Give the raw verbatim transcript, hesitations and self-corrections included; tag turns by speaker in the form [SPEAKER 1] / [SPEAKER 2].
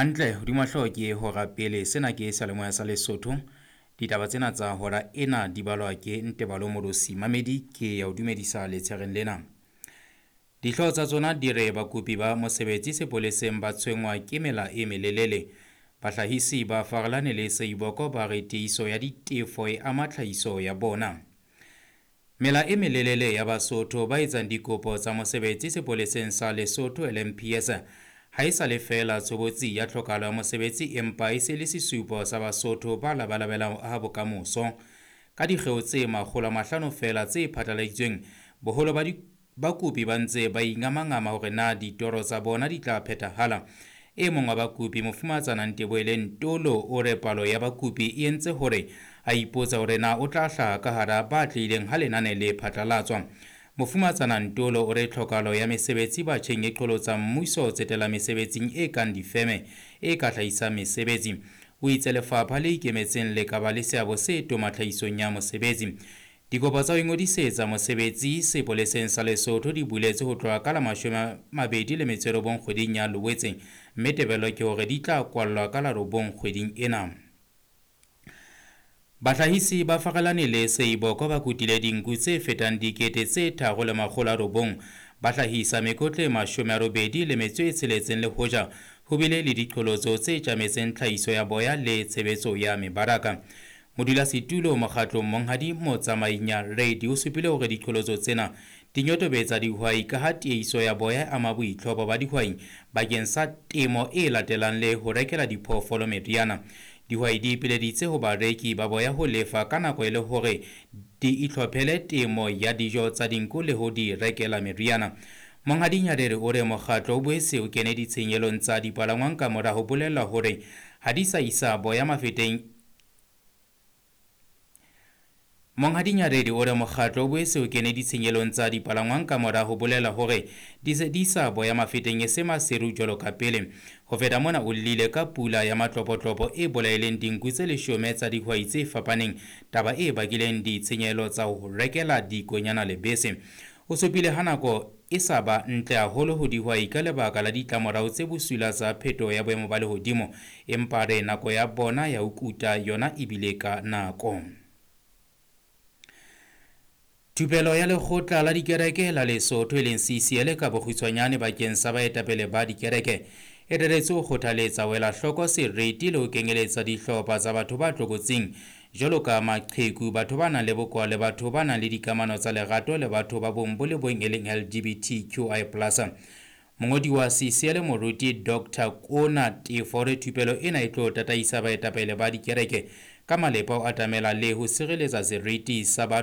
[SPEAKER 1] Hantle hodima hlooho ke hora pele. Sena ke seyalemoya sa Lesotho. Ditaba tsena tsa hora ena di balwa ke Ntebalo Molosi. Mamedi ke ya o dumedisa letshereng lena. Dihlooho tsa tsona di re bakopi ba mosebetsi sepoleseng ba tshwenngwa ke mela e melelele. Bahlahisi ba Farelane le Seiboko ba re tiiso ya ditefo e ama tlhahiso ya bona. Mela e melelele ya Basotho ba etsang dikopo tsa mosebetsi sepoleseng sa Lesotho L M P S ha e sa le feela tshobotsi ya tlhokahalo ya mosebetsi, empa e se le sesupo sa Basotho ba labalabelang ho aha bokamoso. Ka dikgeo tse makgolo a mahlano feela tse phatlaladitsweng, boholo ba bakopi ba ntse ba ingamangama hore na ditoro tsa bona di tla phethahala. E mong wa bakopi, Mofumahatsana Nteboele Ntolo, o re palo ya bakopi e entse hore a ipotsa hore na o tla hlaha ka hara ba atlehileng ha lenane le phatlalatswa. Mofumahatsana Ntolo o re tlhokahalo ya mesebetsi batjheng e qholotsa mmuso ho tsetela mesebetsing e kang difeme e ka hlahisang mesebetsi. O itse lefapha le ikemetseng le ka ba le seabo se toma tlhahisong ya mosebetsi. Dikopo tsa ho ingodisetsa mosebetsi sepoleseng sa Lesotho di buletswe ho tloha ka la mashome a mabedi le metso e robong kgweding ya Loetse, mme tebello ke hore di tla kwallwa ka la robong kgweding ena. Bahlahisi ba Farelane le Seiboko ba kutile dinku tse fetang dikete tse tharo le makgolo a robong, ba hlahisa mekotla e mashome a robedi le metso e tsheletseng le hoja ho bile le diqholotso tse tjametseng tlhahiso ya boya le tshebetso ya mebaraka. Modulasetulo mokgatlong Monghadi Motsamainya Reddy o supile hore diqholotso tsena di nyotobetsa dihwai ka ha tiehiso ya boya e ama boitlhopo ba dihwai bakeng sa temo e latelang le ho rekela diphoofolo meriana. Dihwai di ipileditse ho bareki ba boya ho lefa ka nako e le hore di itlhophele temo ya dijo tsa dinku le ho di rekela meriana. Monghadi Nyarere o re mokgatlo o boetse o kene ditshenyelong tsa dipalangwang ka mora ho bolellwa hore ha di sa isa boya mafeteng. Monghadi Nyarere o re mokgatlo o boetse o kene ditshenyelong tsa dipalangwang ka mora ho bolela hore di se di sa boya mafeteng e se maseru jwalo ka pele. Ho feta mona o llile ka pula ya matlopotlopo e bolaileng dinku tse leshome tsa dihwai tse fapaneng, taba e bakileng ditshenyehelo tsa ho rekela dikonyana lebese. O supile ha nako e sa ba ntle haholo ho dihwai ka lebaka la ditlamorao tse bosula tsa phetoho ya boemo ba lehodimo, empa re nako ya bona ya ho kuta yona e bile ka nako. Thupelo ya lekgotla la dikereke la Lesotho e leng C C L ka bokgutshwanyane bakeng sa baetapele ba dikereke e reretswe ho kgothaletsa ho ela hloko seriti le ho kenyeletsa dihlopha tsa batho ba tlokotsing jwalo ka maqheku, batho ba nang le bokowa le batho ba nang le dikamano tsa lerato le batho ba bong bo le bong e leng L G B T Q I plus. Mongodi wa C C L Moruti Doctor Kona Tefo o re thupelo ena e tlo tataisa baetapele ba dikereke ka malepa ho atamela le ho sireletsa seriti sa batho